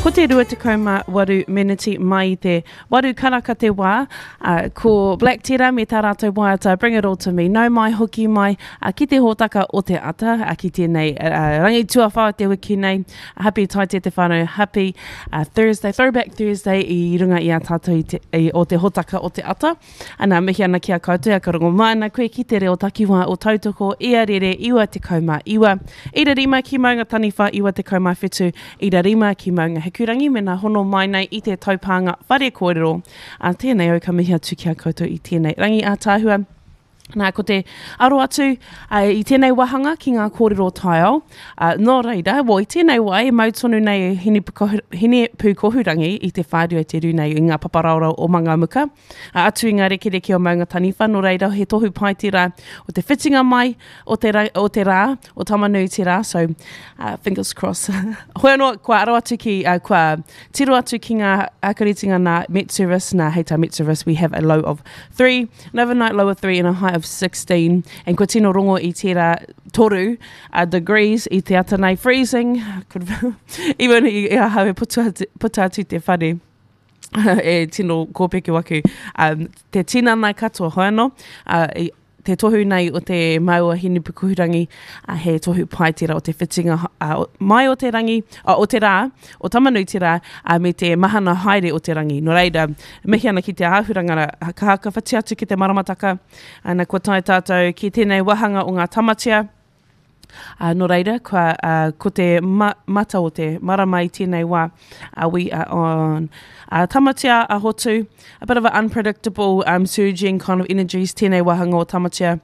Ko te 28 meneti mai i te 8 karaka te wā, uh, ko Black Tera me tā rātou waiata Bring It All To Me. Nau mai, hoki mai, uh, ki te hōtaka o te ata, uh, ki tēnei uh, rangi tuawhā o te wiki nei. Happy Taite te whānau, happy uh, Thursday, Throwback Thursday i runga i a tātou i te, i, o te hōtaka o te ata. Ana, mihi ana ki a koutou, a ka rongo mai ana koe ki te reo takiwā o Tautoko, ia rere 99, ira rima ki Maunga Taniwha 97, ira rima ki Maunga Hikurangi, mena hono mai nei i te taupānga whare kōrero. A tēnei au ka mihi atu ki a koutou i tēnei rangi ātaahua. Nā, ko te aro atu i tēnei wāhanga ki ngā kōrero taiao. Nō reira, well, i tēnei wā e mau tonu nei e Hinepūkohurangi i te whārua i te rū nei i ngā paparaorao o Mangamuka, atu i ngā rekereke o Maunga Taniwha, nō reira, he tohu pai tērā o te whitinga mai o te, ra, o te rā, o Tamanui-te-rā, so uh, fingers crossed. Hoi anō, kua aro atu ki, uh, kua tiro atu ki ngā ākaritinga nā Met Service, nā hei tā Met Service, we have a low of 3, An overnight low of 3 and a high of 16. And kua tino rongo i tērā toru uh, degrees i te ata nei. Freezing. Could, even i, i ahau e puta atu, puta atu te whare e tino kōpeke waku. Um, te tinana katoa, hoi anō. Uh, i, te tohu nei o te maua Hinepukuhurangi, uh, he tohu pai tērā o te whitinga uh, mai o te rangi, uh, o te rā, o Tamanuiterā, uh, me te mahana haere o te rangi. Nō reira, Mihi ana ki te āhuranga ra, ka hakawhati atu ki te maramataka, ana kua tae tātou ki tēnei wāhanga o ngā tamatea, ā, nō reira, kua, ā, ko te ma, mata o te marama i tēnei wā, ā, we are on ā, Tamatea a Hotu, a bit of an unpredictable um, surging kind of energies tēnei wāhanga o Tamatea.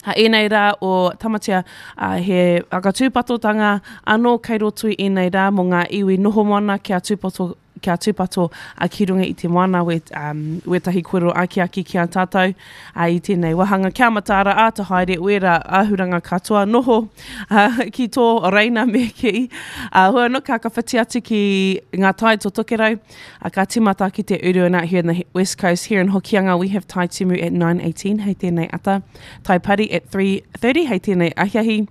A ēnei rā o Tamatea, ā, he whakatūpatotanga anō kei roto i ēnei rā mō ngā iwi noho moana kia tūpato, kia tūpato a ki runga i te moana we, um, wētahi kōrero akiaki ki a tātou ā, i tēnei wāhanga. Kia mataara, āta haere, wērā āhuranga katoa noho ā, ki tō reina me kī. Ā, hoi anō, ka whakawhiti atu ki ngā tai to Tokerau, A ka timata ki te uru and out here in the west coast here in Hokianga we have Tai Timu at 9.18 hei tēnei ata, Tai Pari at 3.30 hei tēnei ahiahi.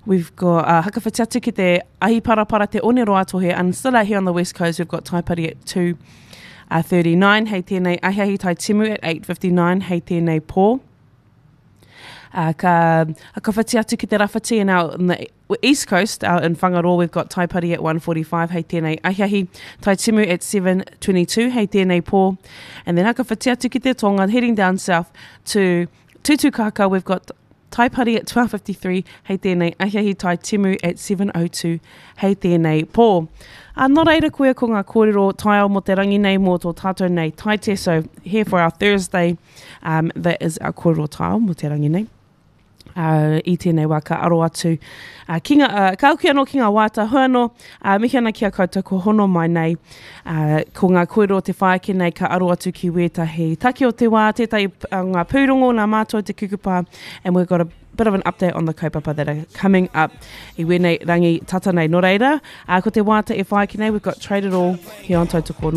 We've got uh, Hakawhiti atu ki te ahi parapara te oneroa tohe and still out here on the west coast we've got Tai Pari at 2.39 uh, hei tēnei ahiahi, Tai Timu at 8.59 hei tēnei pō. Uh, ka hakawhiti atu ki te rawhiti and out in the East Coast, out in Whangaroa, we've got Taipari at 1.45 hei tēnei ahiahi, Taitimu at 7.22 hei tēnei pō. And then hakawhiti atu ki te tonga, heading down south to Tutukaka, we've got Taipari at 12.53 hei tēnei ahiahi, Taitimu at 7.02 hei tēnei pō. Uh, nō reira koia ko ngā kōrero taiao mō te rangi nei, mō tō tātou nei taite. So here for our Thursday, um, that is our kōrero taiao mō te rangi nei. Uh, i tēnei wā ka aro atu uh, ki ngā, uh, ka hoki anō ki ngā wāta hoi anō, uh, mihi ana ki a koutou ko hono mai nei, uh, ko ngā kōrero te whai ake nei ka aro atu ki wētahi take o te wā, tētahi uh, ngā pūrongo nā mātou te kukupa, and we've got a bit of an update on the kaupapa that are coming up i wēnei rangi tata nei. Nō reira, uh, ko te wāta e whai ake nei, we've got Trade It All here on Tautoko.